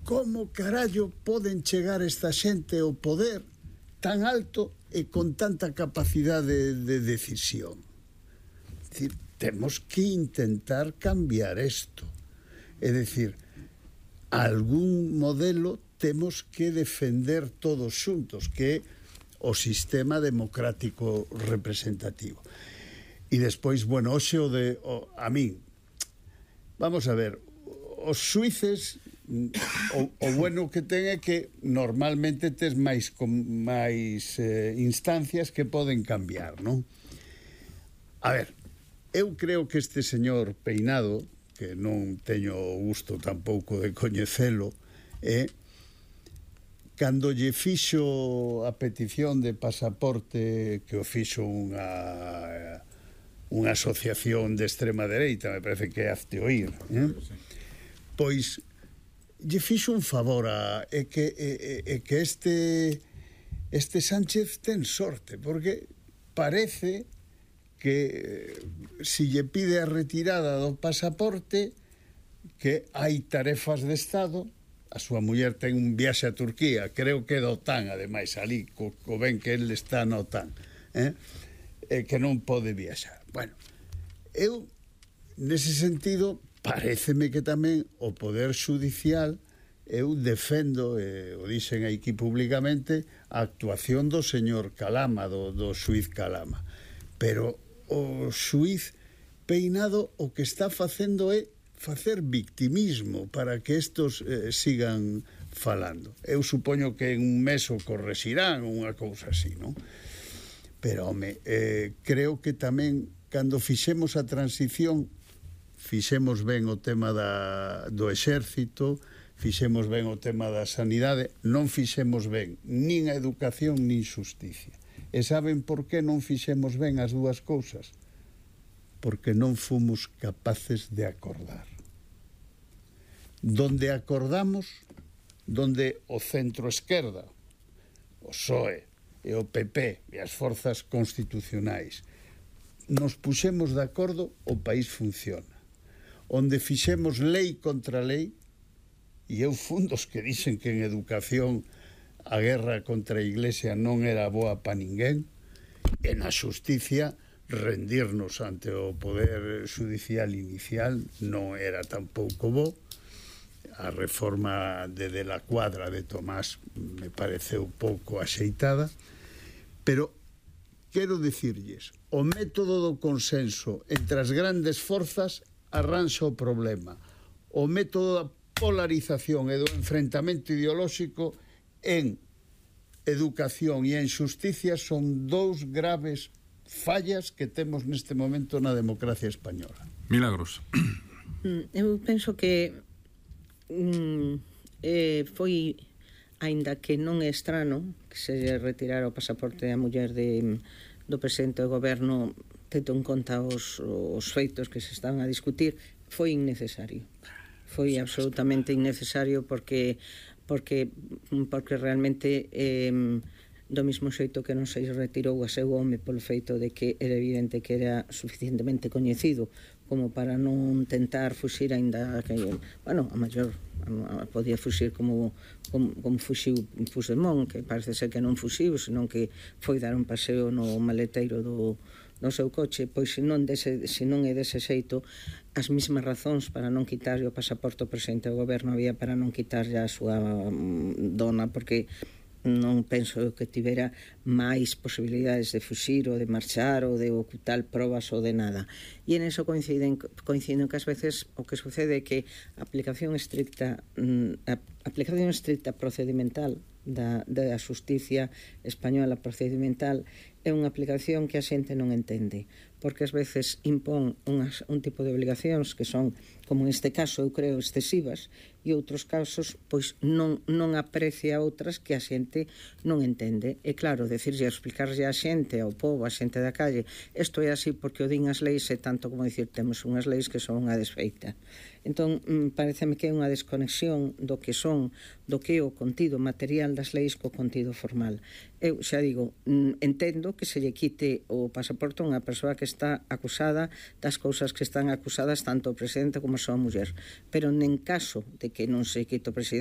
como carallo poden chegar esta xente ao poder tan alto e con tanta capacidade de decisión? É dicir, temos que intentar cambiar isto. É dicir, algún modelo temos que defender todos xuntos, que é o sistema democrático representativo. E despois, bueno, hoxe a min, vamos a ver, os xuíces, o bueno que ten é que normalmente tes máis instancias que poden cambiar, non? A ver, eu creo que este señor Peinado, que non teño o gusto tampouco de coñecelo, cando lle fixo a petición de pasaporte, que o fixo unha asociación de extrema dereita, me parece que é Hazte Oír, pois lle fixo un favor que este Sánchez ten sorte, porque parece que si lle pide a retirada do pasaporte, que hai tarefas de Estado. A súa muller ten un viaxe a Turquía, creo que é da OTAN, ademais, ali, co ben que ele está na OTAN, que non pode viaxar. Bueno, eu, nese sentido, paréceme que tamén o Poder Judicial, eu defendo, o dixen aquí públicamente, a actuación do señor Calama, do xuiz Calama. Pero o xuiz Peinado o que está facendo é facer victimismo para que estos sigan falando. Eu supoño que en un mes o correxirán, unha cousa así, non? Pero, home, creo que tamén, cando fixemos a transición, fixemos ben o tema do exército, fixemos ben o tema da sanidade, non fixemos ben nin a educación nin xusticia. E saben por que non fixemos ben as dúas cousas? Porque non fomos capaces de acordar. Donde acordamos, donde o centro-esquerda, o PSOE e o PP e as forzas constitucionais nos puxemos de acordo, o país funciona. Onde fixemos lei contra lei, e eu fun dos que dixen que en educación a guerra contra a Iglesia non era boa pa ninguén, e na xusticia rendirnos ante o Poder Judicial inicial non era tampouco bo. A reforma de la Cuadra de Tomás me pareceu pouco axeitada, pero quero dicirlles, o método do consenso entre as grandes forzas arranxa o problema. O método da polarización e do enfrentamento ideolóxico en educación e en xusticia son dous graves fallas que temos neste momento na democracia española. Milagros. Eu penso que foi, aínda que non é estrano que se retirara o pasaporte á muller do presidente do goberno, tendo en conta os feitos que se están a discutir, foi innecesario. Foi absolutamente innecesario porque realmente do mesmo xeito que non se retirou a seu home polo feito de que era evidente que era suficientemente coñecido como para non tentar fuxir, aínda que, bueno, a maior podía fuxir como fuxiu Puigdemont, que parece ser que non fuxiu, senón que foi dar un paseo no maleteiro do seu coche. Pois se non é dese xeito, as mesmas razóns para non quitarlle o pasaporte ao presidente do goberno había para non quitarlle a súa dona, porque non penso que tivera máis posibilidades de fuxir ou de marchar ou de ocultar probas ou de nada. E en eso coinciden que ás veces o que sucede é que a aplicación estricta procedimental da xusticia española procedimental é unha aplicación que a xente non entende, porque ás veces impón un tipo de obligacións que son, como neste caso eu creo, excesivas, e outros casos pois non aprecia outras que a xente non entende. E claro, decirlle, explicarlle a xente, ao povo, a xente da calle, isto é así porque o din as leis, é tanto como dicir temos unhas leis que son unha desfeita. Entón, pareceme que é unha desconexión do que é o contido material das leis co contido formal. Eu xa digo, entendo que se lle quite o pasaporte a unha persoa que está acusada das cousas que están acusadas tanto o presidente como a súa muller, pero en caso de que non se quite o presidente